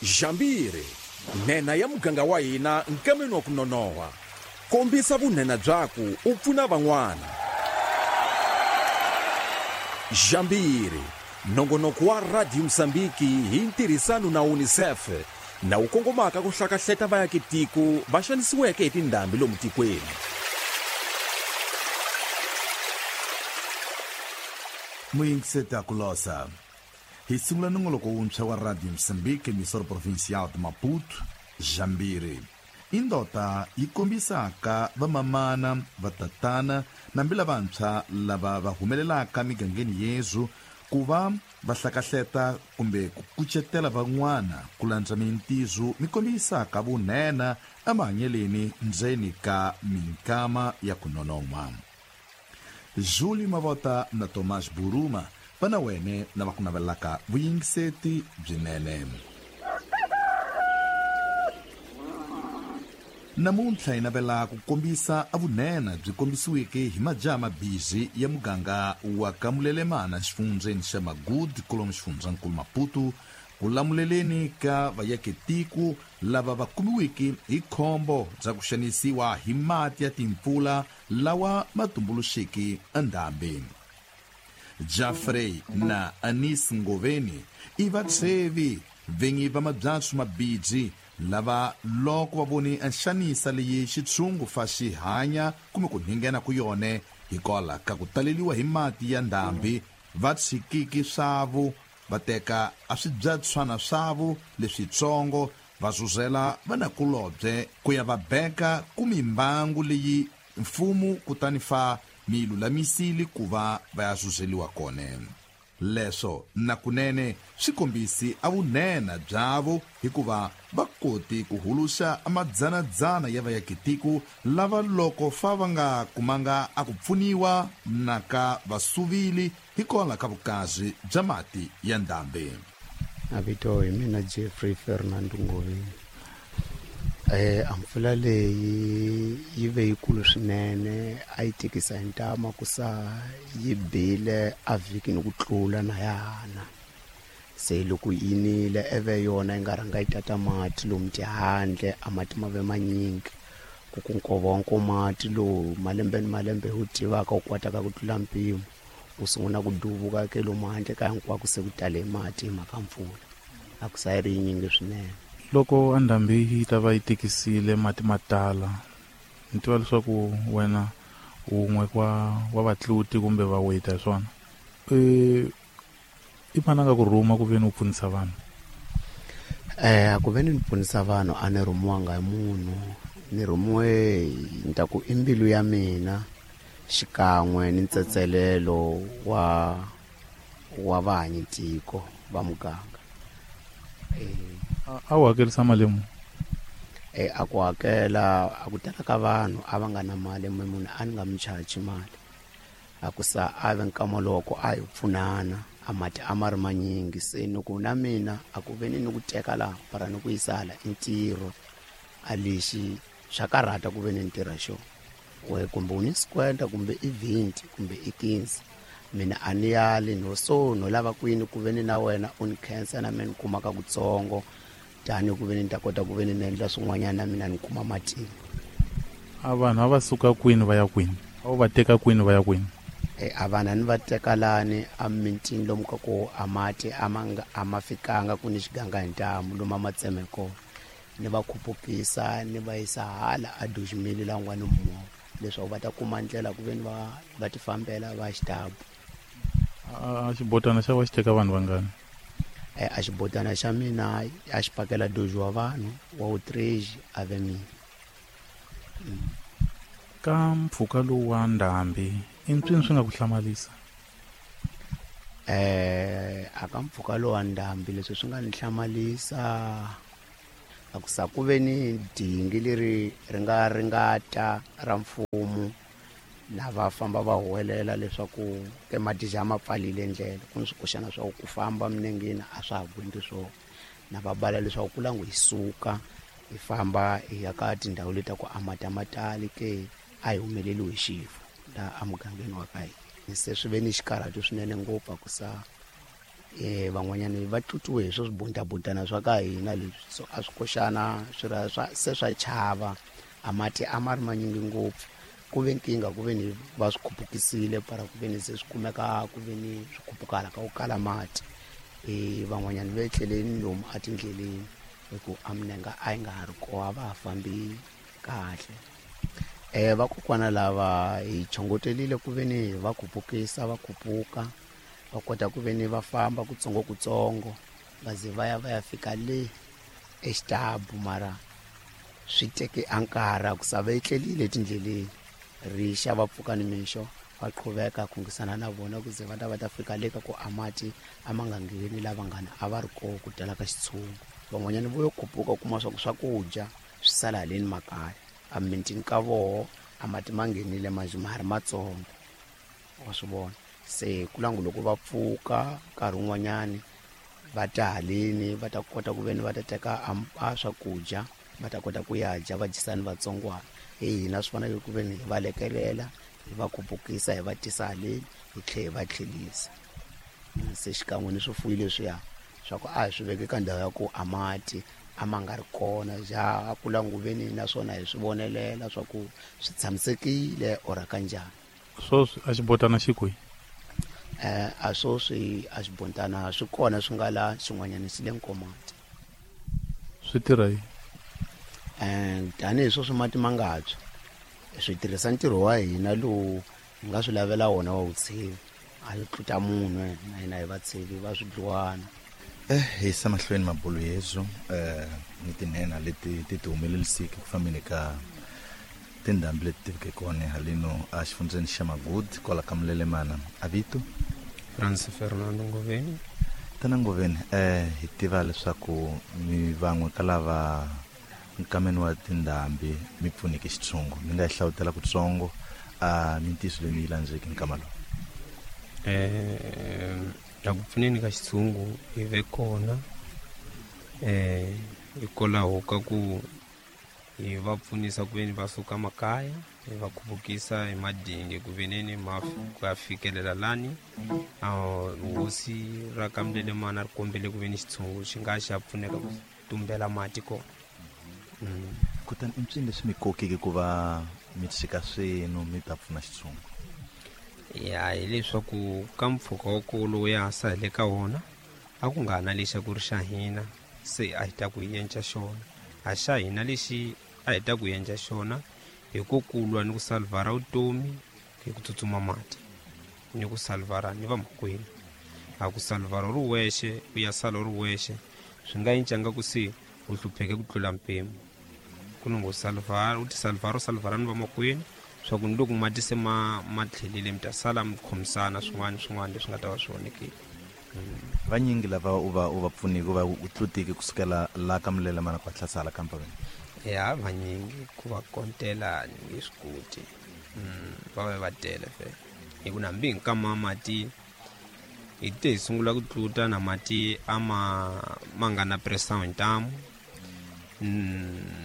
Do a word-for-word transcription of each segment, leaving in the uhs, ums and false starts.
Jambiri, nhenha ya muganga wa hina nkameni wa ku nonoha. Kombisa vunhenha byaku u pfuna van'wana. Jambiri, nongonoko wa Radio Mozambique hi ntirhisano na UNICEF na wu kongomaka ku hlakahleta vaakatiko va xanisiweke hi tindhambi lomu tikweni. Muyingiseta kulosa. Hi sungula nongoloko wuntshwa wa Radio Mozambique, emissora provincial de Maputo, Jambiri. Indota yi kombisaka vamamana, vatatana nambi lavantshwa lava va humelelaka migangeni yezu ku va va hlakahleta kumbe ku kucetela van'wana ku landza mintizo mi kombisaka vunene emahanyeleni ndzeni ka minkama ya ku nonon'hwa. Júlio Mavota na Tomás Buruma va na wene na va ku navelaka vuyingiseti byinene. Namuntlha hi navela ku kombisa avunene byi kombisiweke hi majaha mabisi ya muganga wa Kamulelemana xifundzeni xa Magudu kolomu xifundzankulu Maputo ku lamuleleni ka vaakatiko lava va kumiweke hi khombo bya ku xanisiwa hi mati ya timpfula lawa ma tumbuluxeke endhambi. Jeffrey na Anis Ngoveni i vatsheve vinyi va mabyatsu mabiji lava loko va voni nxanisa leyi xitshungu fa xi hanya kumbe ku nghena ku yone hikwalaho ka ku taleliwa hi mati ya ndhambi va tshikiki swavu va teka a swibyatswana swavu leswitsongo va zuzela vanakulobye ku ya va beka ku mimbangu leyi mfumo kutani fa mi lulamisile ku va va ya zuzeliwa kona. Leswo na kunene swi kombisi a vunene byavo hikuva va koti ku huluxa amadzanadzana ya vaakatiko lava loko fa va nga kumanga a ku pfuniwa na ka vasuvili hikwalaho ka vukazi bya mati ya ndhambi. Mavito hi mina Jeffrey Fernando Ngoveni. Eh ampfula leyi yi ve yikulu swinene, a yi tikisa hi ntama ku sa yi bile a vhiki ni ku tlula na yana. Se loko yi nile eve yona yi nga rhanga yi tata mati lomu tihandle, a mati ma ve manyingi ku ku nkova wa nkomati lowu malembe ni malembe wu tivaka wu kwataka ku tlula mpimo wu sungula ku duvuka ke lomu handle ka hinkwako se ku tale mati hi mhaka mpfula a ku sa yi ri yinyingi swinene. Loko andhambi yi ta va yi tikisile mati ma tala, ni tiva leswaku wena wun'we wa wa vatluti kumbe vaweta hi swona, e i mani a nga ku rhuma ku ve ni u pfunisa vanhu? Eh ku ve ni pfunisa vanhu a ni rhumiwanga hi munhu, ni rhumiwe ni ta ku i mbilu ya mina xikan'we ni ntsetselelo wa wa vahanyitiko va muganga. Eh a wu hakerisa mali muni? Eh a ku hakela a ku tala ka vanhu a va nga na mali, munhu a ni nga mi chaji mali. A ku sa a ve nkama loko a hi pfunana a mati a ma ri manyingi, se ni ku na mina a ku ve ni ni ku teka laha para ni ku yisa hala i ntirho a lexi swa karhata ku ve ni ntirha xo we kumbe u ni sikwenda kumbe i vhinti kumbe i quinze, mina a ni yali no so no lava kwini ku ve ni na wena u ni khensa na mina ni kumaka kutsongo tani ku ve ni ta kota ku ve ni ni endla swin'wanyana na mina ni kuma matimba. A vanhu a va suka kwini va ya kwini? A wu va teka kwini va ya kwini? E a vanhu a ni va teka lani a mintini lomu ka ku a mati a ma nga a ma fikanga ku ni xiganga hi ntamu lomu a ma tseme kona, ni va khupukisa ni va yisa hala a Dojimili la n'wana movha leswaku va ta kuma ndlela ku ve ni va va ti fambela va xitabu. A xibotana xa va xi teka vanhu vangani? Eh a xibotana xa mina a xi pakela dojo wa vanhu wa utreji a ve mina. Ka mpfhuka lowu wa ndhambi i mpfini swi nga ku hlamalisa? Eh a ka mpfhuka lowu wa ndhambi leswi swi nga ni hlamalisa a ku sa ku ve ni dingi leri ri nga ringata ra mfumo na va famba va huwelela leswaku ke madija ma pfalile ndlela ku ni swikoxana swa ku famba minengeni a swa ha gwendi swona, na va bala leswaku ku langu hi suka hi famba hi ya ka tindhawu leti ta ku a mati a ma tali ke a hi humeleliwi hi xifo laha emugangeni wa ka hina. Se swi ve ni xikarhato swinene ngopfu a ku sa Eh van'wanyana va tlutiwe hi swo swibuntabutana swa ka hina leswi, so a swi koxana swi ra swa se swa chava. A mati a ma ri manyingi ngopfu, ku ve nkingha ku ve ni va swi khupukisile para ku ve ni se swi kumeka ku ve ni swi khupukala ka ku kala mati. Eh van'wanyana va etleleni lomu etindleleni hi ku a minenga a yi nga ha ri kona, a va ha fambi kahle. Eh vakokwana lava hi chongotelile ku ve ni va khupukisa va khupuka, va kota ku ve ni va famba kutsongo kutsongo va ze va ya va ya fika le exitabu, mara swi teke a nkarhi ku sa va etlelile etindleleni. Rixa va pfuka nimixo va qhuveka khungisana na vona ku ze va ta va ta fika le ka ku a mati a ma nga ngheni lava ngana a va ri kona ku tala ka xitshungu. Van'wanyana vo yo khupuka u kuma swa ku swakudya swi sala haleni makaya, a mintini ka voho a mati ma nghenile manjhe ma ha ri matsongo, wa swi vona. Se ku langu loko va pfuka nkarhi wun'wanyani va ta haleni va ta kota ku ve ni va ta teka a swakudya va ta kota ku ya dya va dyisani vatsongwana. Hi hina swi fanele ku ve ni hi va lekelela hi va khupukisa hi va tisa haleni hi tlhela hi va tlhelisa. Se xikan'we ni swifuwo leswiya swa ku a hi swi veke ka ndhawu ya ku a mati a ma nga ri kona, ja a ku languveni naswona hi swi vonelela swa ku swi tshamisekile or kanjhani. Sweswi a xibotana xi kwihi? Eh a sweswi a xibotana swi kona swi nga la xin'wanyana xi le Nkomati. Swi tirha yini? Eh tanihi sweswi mati ma nga tshwa, swi tirhisa ntirho wa hina lowu hi nga swi lavela wona wa vutshivi, a yi tluta munhu na hina hi vatshivi va swidluwana. Eh hi yisa mahlweni mabulu yezu eh ni tinhena leti ti ti humelelisiki ku fambeni ka tindhambi leti ti veke kona haleno a xifundzeni xa Magudu kwala ka Mulelemana. A vito Francis Fernando Ngoveni. Tana Ngoveni, eh hi tiva leswaku mi van'we ka lava nkameni wa tindhambi mi pfuneke xitshungu, mi nga hi hlawutela kutsongo a mintiyiso leyi mi yi landzeke nkama lowu? Eh la ku pfuneni ka xitshungu hi ve kona eh hikwalaho ka ku hi va pfunisa ku veni va suka makaya, hi va khupukisa hi madingi ku veneni ma ku ya fikelela lani hosi ra ka Mulelemana ri kombele ku veni xitshungu xi nga xa pfuneka ku tumbela mati kona. Kutani i mpsini leswi mi kokeke ku va mi tshika swenu mi ta pfuna xitshungu? Ya hileswaku ka mpfhuka wa ku lowu ya sa hi le ka wona a ku nga ha na lexi a ku ri xa hina, se a hi ta ku hi endla xona. A xa hina lexi a hi ta ku endla xona hi ku kulwa ni ku salvara vutomi hi ku tsutsuma mati ni ku salvara ni vamakwenu. A ku salvara ri wexe u ya sala ri wexe swi nga encanga ku se u hlupheke ku tlula mpimo. Ku ni ngo salvara u ti salvara u salvara ni vamakwenu swa ku ni loko mati se ma ma tlhelile mi ta sala mi khomisana swin'wana swin'wana leswi nga ta va swi onhekile. Vanyingi lava u va u va pfuniki va u tlutiki kusukela la ka Mulelemana ku hlasala ka Mpaveni? Ya vanyingi ku va kontela ni nge swi koti, va va va tele fe hi ku nambi nkama mati hi te hi sungula ku tluta na mati a ma ma nga na pressure hi ntamu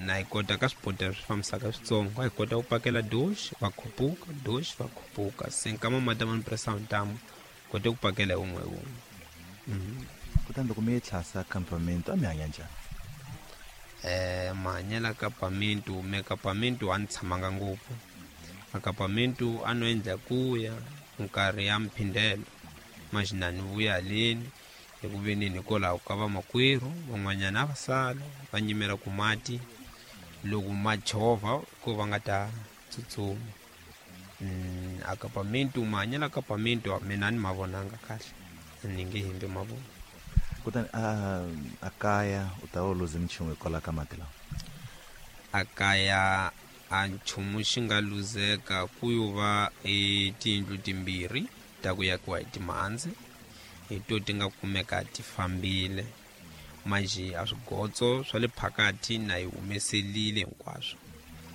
na hi kota ka swibodela swi fambisaka switsongo, a hi kota ku pakela doxi va khupuka doxi va khupuka, se nkama mati ma ni pressure hi ntamu kote ku pakela hi wun'we hi wun'we. Kutani loko mi yi tlhasa campamento a mi hanya njhani? Eh mahanyela campamento me campamento a ni tshamanga ngopfu. A campamento a no endla ku ya nkarhi ya mphindelo manjhe ni vuya haleni hi ku ve ni hikwalaho ka vamakwerhu van'wanyana a va sala va nyimela ku mati loko ma chovha ko va nga ta tsutsuma. A campamento mahanyela campamento mina a ni ma vonanga kahle, ni nge hembi ma vona. Kutani a a kaya u ta va u luze minchumu hikwalaho ka mati lawa? A kaya a nchumu xi nga luzeka ku yo va e tiyindlu timbirhi ta ku yakiwa hi timhandzi hi to ti nga kumeka ti fambile manjhe a swigotso swa le phakathi na hi humeselile hinkwaswo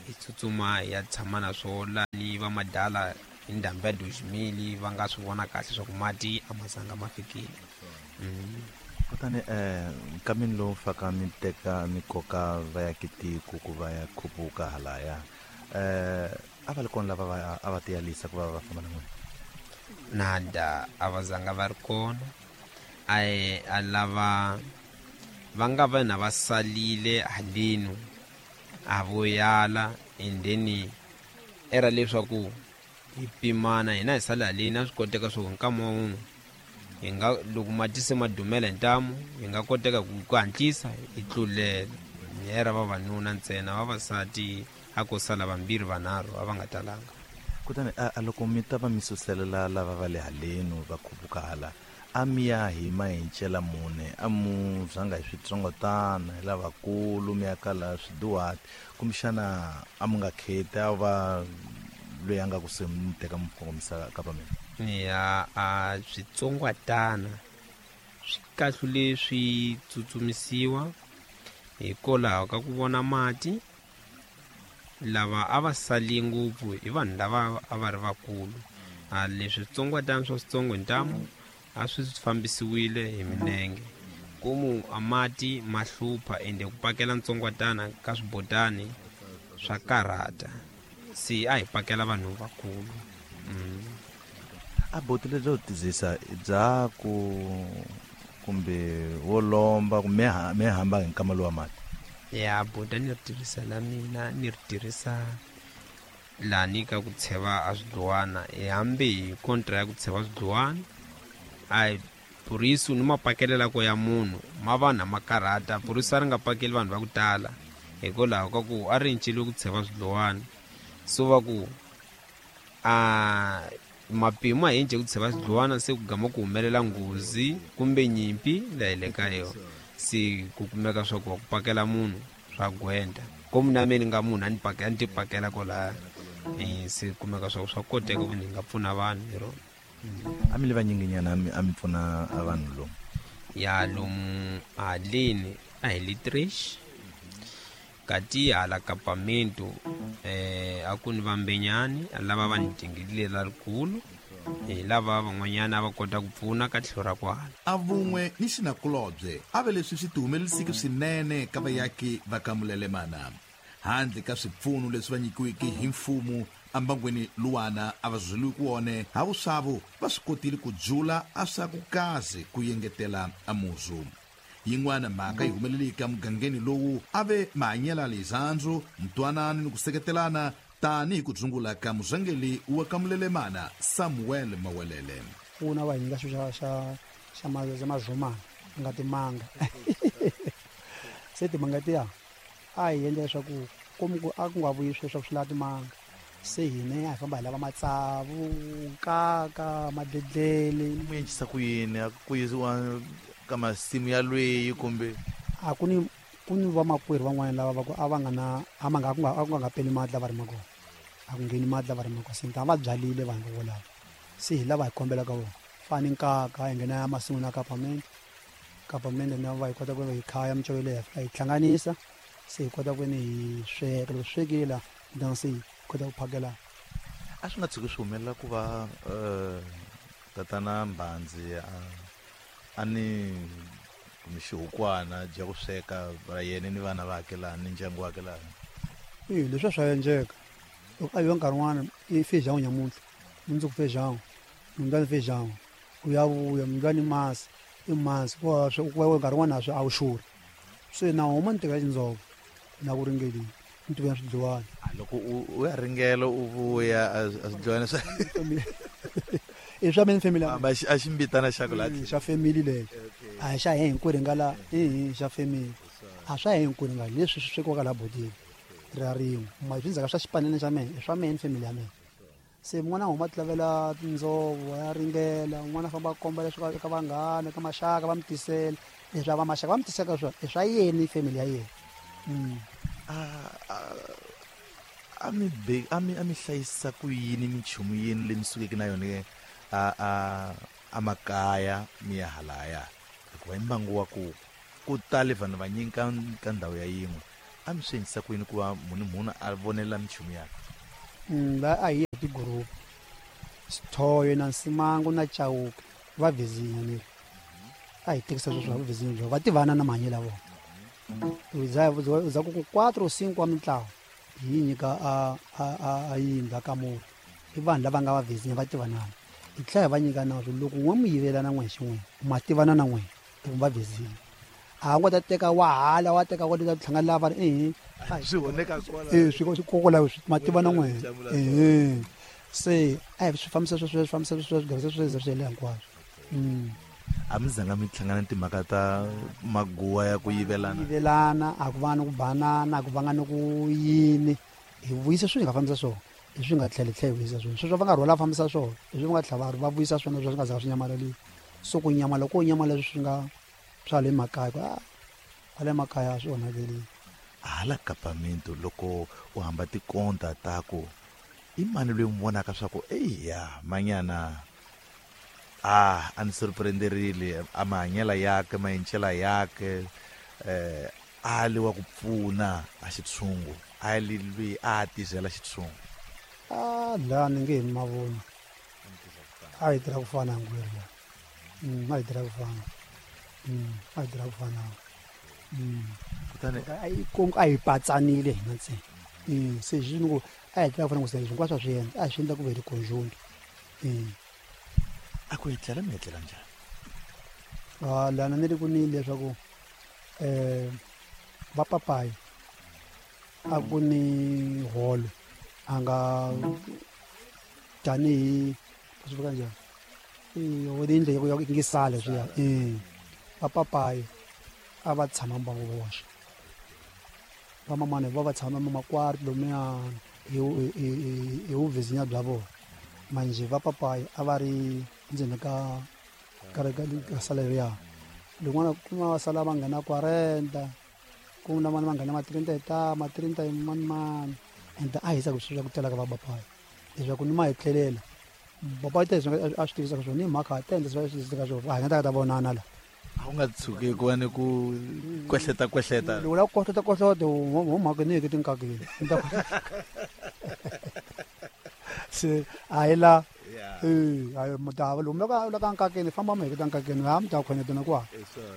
hi tsutsuma hi ya tshama na swona ni va madala hi ndhambi ya Dozimili va nga swi vona kahle swa ku mati a ma zanga ma fikile. Kutani eh nkameni lowu faka mi teka mi koka va ya kitiko ku va ya khupuka halaya eh a va ri kona lava va a va tiyalisa ku va va famba na n'wina? Nada, a va zanga va ri kona. A a lava va nga va na va salile halenu a vo yala and then era leswaku hi pimana hina hi sala haleni a swi koteka swo nkama wun'we hi nga loko mati se ma dumela hi ntamu hi nga koteka ku hatlisa hi tlulela. Era vavanuna ntsena, vavasati a ko sala vambirhi vanharhu a va nga talanga. Kutani a loko mi ta va mi suselela lava va le haleni va khupuka hala a mi ya hi mahencela mune a mu zanga hi switsongotana hi lavakulu mi ya kala swiduhati kumbexana a mu nga kheti a va loyi a nga kusuhi mi teka mi kongomisa ka va mina? Ya a switsongwatana swi kahlule swi tsutsumisiwa hikwalaho ka ku vona mati. Lava a va sali ngopfu i vanhu lava a va ri vakulu. A leswi switsongwatana swa switsongo hi ntamu a swi fambisiwile hi minenge komu a mati ma hlupha ende ku pakela ntsongwatana ka swibotani swa karhata, se a hi pakela vanhu vakulu. Mm. A boti lebyo tizisa bya ku kumbe wo lomba kumbe me hamba hi nkama lowa mati? Ya bota ni ri tirhisa la mina ni ri tirhisa lani ka ku tsheva a swidluwana hi hambi hi kontra ya ku tsheva swidluwana a purisu ni mapakelela ko ya munhu ma vanhu ma karhata. Purisu a ri nga pakeli vanhu va ku tala hikwalaho ka ku a ri enceliwe ku tsheva swidluwana, so va ku a mapimo a hi ku tsheva swidluwana se ku gama ku humelela nghozi kumbe nyimpi laha hi le ka yona, se ku kumeka swa ku va ku pakela munhu swa gwenda komu na mina ni nga munhu a ni pakela ni ti pakela kwalaya se kumeka swa ku swa koteka ku ni nga pfuna vanhu hi rona. A mi le vanyinginyana a mi pfuna a vanhu lomu? Ya lomu haleni a hi le Trish kati hala kapamento eh a ku ni vambenyani lava va ni dingile lerikulu hi lava van'wanyana va kota ku pfuna ka tlhelo ra kwala. A vun'we ni xinakulobye a ve leswi swi tihumelerisiki swinene ka vayaki va ka Mulelemana handle ka swipfuno leswi va nyikiweke hi mfumo ambangweni luwana a va zweliwi ku wone havuswavo va swi kotile ku dzula a swa ku kaze ku yengetela a muzu. Yin'wana mhaka yi humeleleke emugangeni lowu a ve mahanyelo lezandzu ntwanano ni ku seketelana tanihi ku dzungula ka muzangeli wa ka Mulelemana Samuel Mawelele. Pfuna va hi nyika xilo xa xa xa xa mazumana ku nga timanga. Se timanga tiya a hi endla leswaku komu ku a ku nga vuyi sweswo swi lava timanga, se hina a hi famba hi lava matsavu, nkaka, madledlele. Mu encisa ku yini a ku yisiwa ka masimu ya lweyi kumbe? A ku ni ku ni vamakwerhu van'wana lava va ku a va nga na a ma nga ku nga a ku nga peli mati lava rimaka kona, a ku ngheni mati lava rimaka kona, se a va byalile vanhu volavo, se hi lava hi kombelaka vona fani nkaka hi nghena ya masin'wini ya kapamende kapamende na va hi kota ku hi khaya mincove leyi hi fika hi hlanganisa se hi kota ku ni hi sweka. Loko swekile la then se hi kota ku phakela. A swi nga tshuki swi humelela ku va tatana Mbhandzi a a ni kumbe xihukwana bya ku sweka ra yena ni vana vakhe laha ni ndyangu wakhe laha? E leswi swa endleka loko a yiwa nkarhi wun'wana i feijão nyamuntlha mundzuku feijão mundlwani feijão ku ya vuya mundlwani masi i masi ku nkarhi wun'wana a swi a wu xurhi se na huma ni teka xindzovo na ku ringeleni ni tiva swidluwana. Loko u ya ringela u vuya a swidluwana swa i swa mina family a ximbitana xa ku la xa family leyo a hi xa hi hinkwerhu nga la i xa family a swa hi hinkwerhu nga leswi swi swekiwaka la bodini ra rin'we ma swi ndzhaka swa xipanene xa mehe i swa mehe ni family ya mehe. Se mun'wana a huma tilavela tindzovo ya ringela un'wana a famba a komba leswi eka vanghana ka maxaka va mi tisela leswi a va maxaka va mi tiseka swona i swa yena ni family ya yena. A a mi be a mi a mi hlayisa ku yini minchumu yini leyi mi sukeke na yona a a a makaya mi ya halaya hikuva i mbangu wa ku ku tale vanhu vanyingi ka ka ndhawu ya yin'we a mi swi endlisa ku yini ku va munhu munhu a vonela minchumu yakhe? La a hi tigroup Sithoyo na Nsimangu na Chauke va vizinya ni a hi tekisa sweswo va vizinya byo va tivana na mahanyelo ya vona. U za u za ku quatro cinco wa mintlawa hi nyika a a a yindlu ka murhi i vanhu lava nga va vizinya va tivanana. Hi tlhela hi va nyika nawu loko n'we mi yivelana n'we xin'we ma tivana na n'we hi va vezile. A nga ta teka wa hala wa teka wa ta tlhanga lava eh swi honeka kwala eh swi kokola ma tivana n'we eh se a swi fambisa sweswo swi fambisa sweswo swi gavisa sweswo swi le hinkwaswo. Mm a mi zanga mi hlangana timhaka ta maguwa ya ku yivelana yivelana a ku va na ku banana a ku vanga na ku yini hi vuyisa swi nga fambisa swona hi swi nga tlhele tlhele vuyisa swona sweswo va nga rhwala fambisa swona hi swi nga tlhava va vuyisa swona swi nga zanga swi nyamalali so ku nyamala ko nyamala swi nga swa le makaya ku a le makaya swi onhakele. Hala kapamento loko u hamba tikonta ta ku i mani loyi mi vonaka swa ku eya manyana ah a ni surprenderile a mahanyela yake maencela yake eh a li wa ku pfuna a xitshungu a li lwi a tizela xitshungu ah la ni nge mavona a yi tirha ku fana ngweri la mm a yi tirha ku fana mm a yi tirha ku fana mm kutani a yi kongo a yi patsanile hina ntsena mm se xi ni ku a yi tirha ku fana ku se hinkwaswo swi endla a swi endla ku ve ri conjunto mm a ku etlela mi etlela njhani? Ah lana ni ri ku ni leswaku eh va papayi a ku ni holo a nga tanihi swi vula njhani eh o dindle yo ngi sale swi ya eh va papayi a va tshama mbangu voxe va mamana va va tshama makwari lomuya hi hi hi vuvizinya bya vona manje va papayi a va ri ndzeni ka ka ka sala ya lin'wana kuma va sala va nghena quarenta ku na vana va nghena ma trinta ta ma trinta mani mani ende a hisa ku swi ku tela ka va papayi leswaku ni ma hi tlhelela papayi ta a swi tivisa ka swona ni mhaka ta endla swi tivisa ka swona a hi nga ta ka ta vonana la a wu nga tshuki ku va ni ku kwehleta kwehleta loko la ku kohlota kohlota ho mhaka ni yeke tinkakeni se a hi la eh a mutava lomu ka la ka nkakeni famba mi heketa nkakeni ha mi ta khoneta na kwa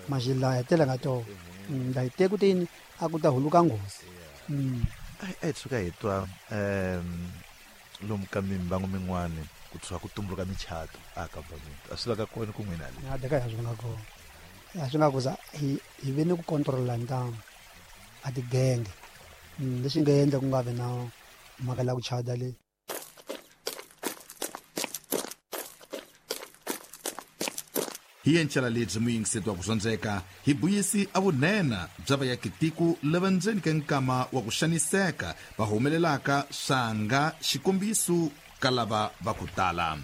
majila ya tela nga to nda hi teku tini a ku ta huluka nghozi mm a hi tshuka hi twa um lomu ka mimbangu min'wani ku tshuka ku tumbuluka michato a ka vamento a swi va ka kona ku n'wina le a deka ya swi nga kona a swi nga kuza hi hi ve ni ku controla ntamu a tigenge lexi nga endla ku nga vi na mhaka la ku chada le. Hi encela lebyi muyingiseti wa ku dyondzeka hi buyisi a vunena bya vayakitiko lava ndzeni ka nkama wa ku xaniseka va humelelaka swanga xikombiso ka lava va ku tala.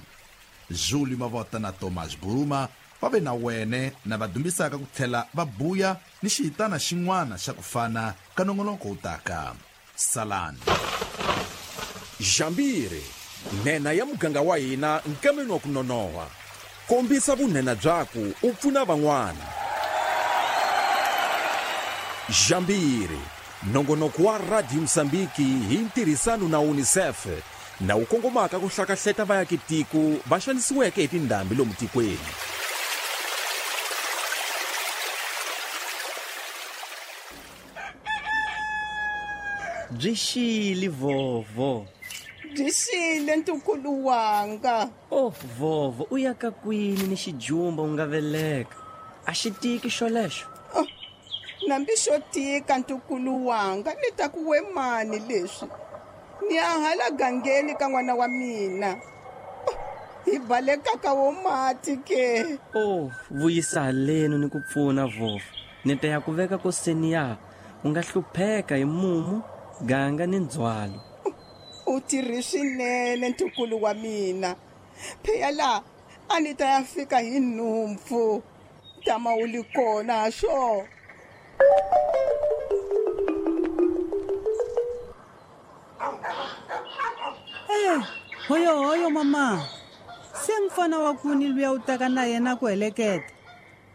Julio Mavota na Thomas Buruma va ve na wene na va dumbisaka ku tlhela va buya ni xihitana xin'wana xa ku fana ka nongonoko wu taka. Salani. Jambiri, nhenha ya muganga wa hina nkameni wa ku nonoha. Kombisa vunhenha byaku u pfuna van'wana. Jambiri, nongonoko wa Radio Mozambique hi ntirhisano na UNICEF na wu kongomaka ku hlakahleta vayakitiko va xanisiweke hi tindhambi lomu tikweni. Byi xile vovo. Byi xile ntukulu wanga. Oh vovo u ya ka kwini ni xijumba u nga veleka a xi tiki xolexo? Oh, nambi xo tika ntukulu wanga ni ta ku we mani leswi ni ya hala gangeni ka n'wana wa mina. Oh, hi baleka ka wo mati ke. Oh vuyisa halenu ni ku pfuna vovo ni ta ya ku veka koseni ya u nga hlupheka hi mumu ganga ni ndzhwalo. U tirhi swinene ntukulu wa mina pheya la a ni ta ya fika hi nhumpfu tama u li kona swo. Eh hoyo hoyo mama se mfana wa kuni luya u taka na yena ku heleketa.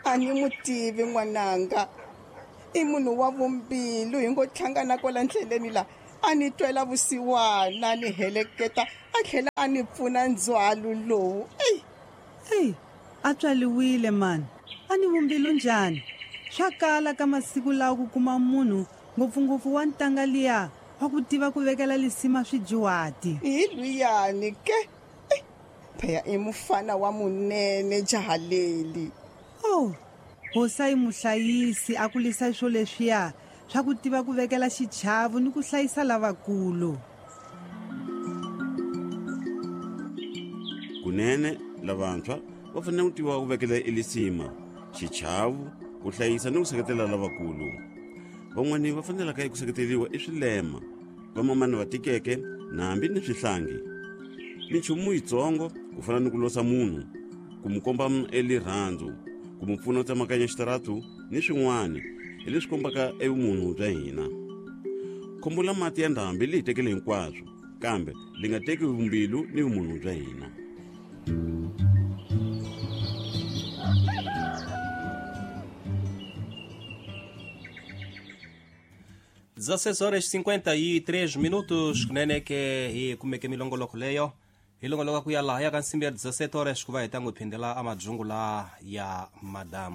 A ni mu tivi n'wananga i munhu wa vumbilu hi ngo hlangana kwala ndleleni la a ni twela vusiwana ni heleketa a tlhela a ni pfuna ndzhwalo lowu. Eyi eyi a tswaliwile mani a ni vumbilu njhani swa kala ka masiku lawa ku kuma munhu ngopfungopfu wa ntanga liya wa ku tiva ku vekela lisima swidyuhati. Hi luyani ke Phaya i mufana wa munene jaha leli. Oh, hosa i muhlayisi a kulisa swo leswiya swa ku tiva ku vekela xichavo ni ku hlayisa lavakulu. Kunene lavantshwa va fanele ku tiva ku vekela elisima, xichavo, ku hlayisa ni ku seketela lavakulu. Van'wani va fanelaka eku seketeriwa i swilema, vamamani va tikeke na hambi ni swihlangi. Minchumu yitsongo ku fana ni ku losa munhu, ku mu komba elirhandzu, ku mu pfuna ku tsemakanya xitaratu ni swin'wana hi leswi kombaka evumunhu bya hina. Khombo la mati ya ndhambi li hi tekele hinkwaswo, kambe li nga teki vumbilu ni vumunhu bya hina. dezesseis horas e cinquenta e três minutos, kunene ke hi kumeke milongoloko leyo hi longoloka ku ya laha ya ka nsimbi ya dezessete horas ku va hi ta n'wi phindela amajungu la ya madambu.